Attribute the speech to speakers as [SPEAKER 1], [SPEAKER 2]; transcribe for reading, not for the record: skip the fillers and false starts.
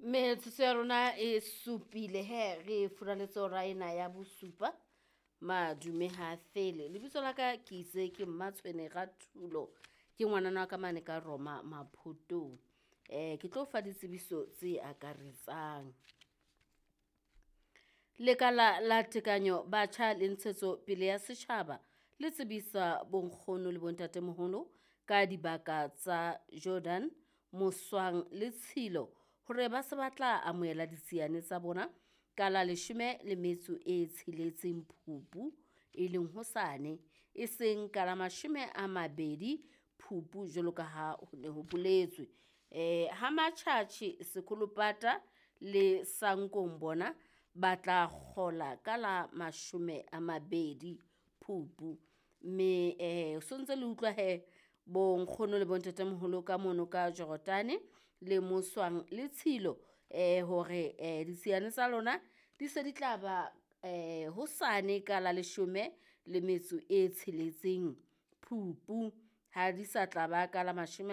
[SPEAKER 1] Metsotso ya rona e supile he re furaletse hora ena ya bosupa. Madume ha fele. Lebitso la ka ke itse ke Mmatshwene Rathulo. Ke ngwanana wa ka mane ka Roma Maphotong. Ke tlo fa ditsebiso tse akaretsang. Lekala la Tekanyo Batjha le Ntshetso Pele ya Setjhaba le tsebisa bonkgono le bontatemoholo ka dibaka tsa Jordan, Moswang le Tshilo hore ba se ba tla amohela ditsiane tsa bona ka la 16 Phupu, e leng hosane, e seng ka la 20 Phupu jwalo ka ha ho ne ho boletswe. Ha Matjhatjhe, Sekolopata le Sankong bona ba tla kgola ka la 20 Phupu. Mme sontse le utlwa he bonkgono le bontatemoholo ka mono ka Jordan le Moswang le Tshilo hore ditsiane tsa lona di se di tla ba hosane ka la 16 Phupu, ha di sa tla ba ka la